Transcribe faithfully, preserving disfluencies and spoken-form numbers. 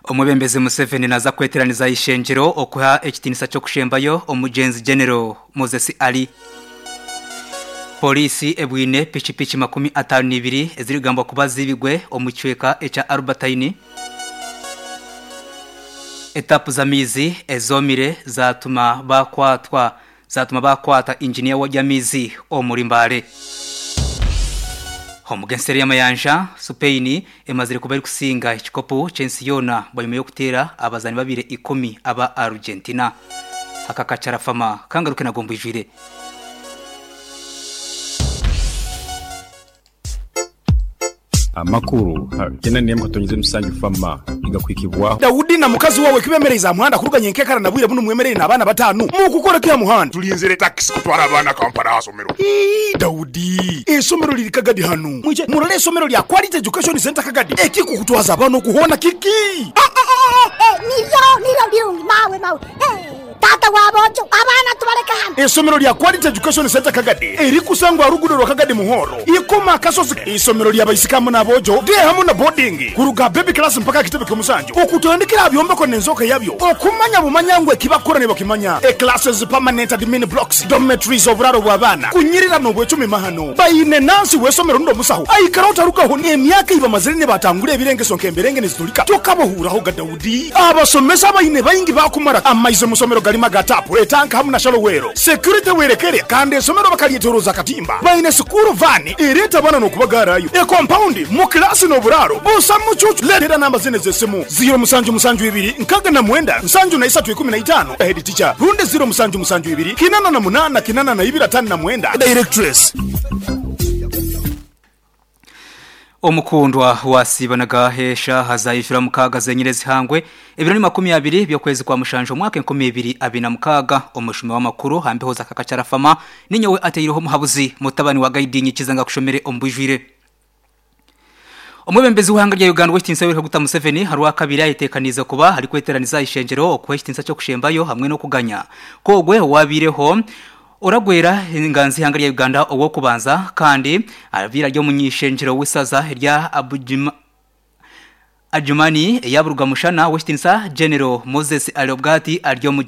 Omwebembezi Museveni naza kweteraniza ishengyero okuha ekitinisa ky'okushembayo omugenzi General Moses Ali. Polisi ebwine pikipiki makumi ataano n'ibiri ezirikugambwa kuba zibigwe omu kicweka ekya Albertine. Etapu z'amaizi ezomire zatuma bakwatwa zatuma bakwata injiniya w'amaizi omuri Mbale. Omu g'enseri y'amayanja, Spain emazire kuba erikusinga ekikopo ky'ensi yoona bwanyuma y'okuteera abazaani babiri ikumi aba Argentina. Aka kacarafama kangaruke nago mbwijwire. Amakuru kena katonyeze musanju fama igakwikibwaho. Daudi na mukazi wawe kibemereza muhanda kuruganya enkekara na bwire buno mwemerere n'abaana batanu mukukora kya muhanda. Tulinzire taxi kutwara abaana Kampala asomero. Ii, Daudi, esomero liri Kagadi hano. Mwije murole esomero lya Quality Education Center Kagadi. Ekikukutwaza abaana okuhona kiki? Eh, eh, eh, eh, niryo niryo birungi mawe mawe. Eh, tata wabojo abaana tubaleka hano. Esomero lya Quality Education Center Kagadi erikusangwa rugudo rwa Kagadi Muhoro. Ikoma kasozi isomero lya baisikamu n'abojo de hamu na boarding kuruga baby class mpaka kitebe ky'omusanju. Okutandikira byombeko n'enzoka yabyo. Okumanya bumanyangwe kibakora ne bakimanya. E classes, permanent admin blocks, dormitories, oburaro bw'abaana. Kunyirira n'obwecumi mahano. Bayine nansi w'esomero ndo musaho. Aikara utarukaho emyaka iba mazire ne batangura ebirengeso nk'emberenge nezitulika. Tokabohuraho ga Daudi. Abasomesa bayine bayingi bakumara amaize musomero galima gatapu etanka hamu na shalowero. Security werekere kandi esomero bakalyetoroza katimba. Bayine sukuru vani ereta bana n'okubagarayo. E compound mu klasi n'oburaro. Busa mucucu letera namba zine z'esimu. Zero musanju musanju ibiri nkaga na mwenda nsanju na isatu ikumi na itano. Head teacher runde zero musanju musanju ibiri kinana na munana kinana na ibiri atano na mwenda. Directress. Omukundwa wasibanaga hesha hazayishura mukaga zenyire zihangwe ebiro ni makumi abiri byo kwezi kwa mushanjo mwaka enkumi ibiri abina mukaga. Omushumi w'amakuru hambeho za kakacarafama ninyowe ateyireho muhabuzi mutabani wa gaidinyi kizanga kushomere ombujwire. Omwebembezi w'ihanga rya Uganda Westin Yoweri Kaguta Museveni haruwa kabiri ayitekaniza kuba hari kweteraniza ishenjero okuha ekitinisa cyo kushembayo hamwe no kuganya kogwe wabireho oragwera inganzi ihanga rya Uganda owo kubanza kandi abira ryo munyishenjero w'isaza rya Abujima Adjumani yaburuga mushana Westin General Moses Alobgati aryo mu